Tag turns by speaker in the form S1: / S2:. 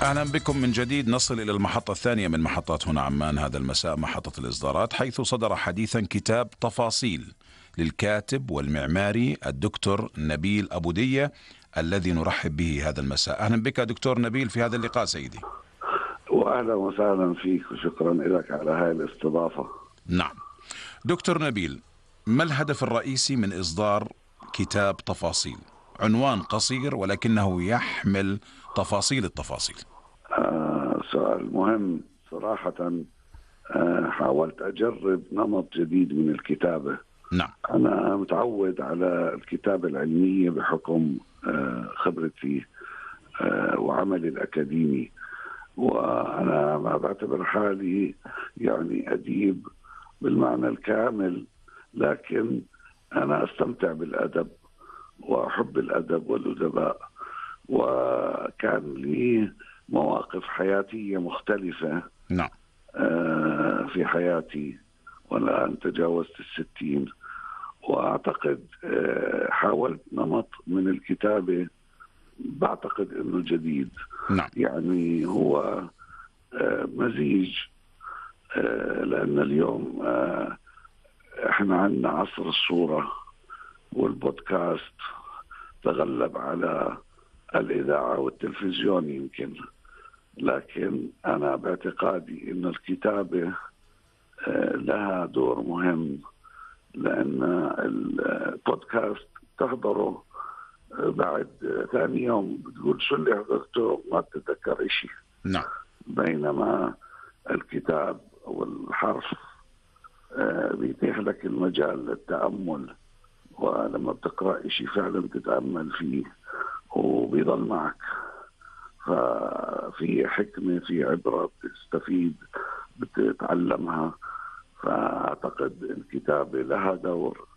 S1: أهلا بكم من جديد. نصل إلى المحطة الثانية من محطات هنا عمان هذا المساء، محطة الإصدارات، حيث صدر حديثا كتاب تفاصيل للكاتب والمعماري الدكتور نبيل أبو دية، الذي نرحب به هذا المساء. أهلا بك دكتور نبيل في هذا اللقاء سيدي.
S2: وأهلا وسهلا فيك وشكرا لك على هاي الاستضافة.
S1: نعم دكتور نبيل، ما الهدف الرئيسي من إصدار كتاب تفاصيل؟ عنوان قصير ولكنه يحمل تفاصيل التفاصيل.
S2: سؤال مهم صراحة. حاولت أجرب نمط جديد من الكتابة.
S1: نعم.
S2: أنا متعود على الكتابة العلمية بحكم خبرتي وعملي الأكاديمي، وأنا ما بعتبر حالي يعني أديب بالمعنى الكامل، لكن أنا أستمتع بالأدب وأحب الأدب والأدباء، وكان لي مواقف حياتية مختلفة.
S1: نعم.
S2: في حياتي والآن تجاوزت 60، وأعتقد حاولت نمط من الكتابة بعتقد أنه جديد.
S1: نعم.
S2: يعني هو مزيج، لأن اليوم احنا عندنا عصر الصورة والبودكاست تغلب على الإذاعة والتلفزيون يمكن، لكن أنا باعتقادي أن الكتابة لها دور مهم، لأن البودكاست تحضره بعد ثاني يوم بتقول شو اللي حضرته، ما تتذكر إشي.
S1: نعم.
S2: بينما الكتاب أو الحرف بيتيح لك المجال للتأمل، ولما بتقرأ إشي فعلا تتأمل فيه وبيضل معك، ففي حكمة، في عبرة بتستفيد بتتعلمها. فأعتقد الكتابة لها دور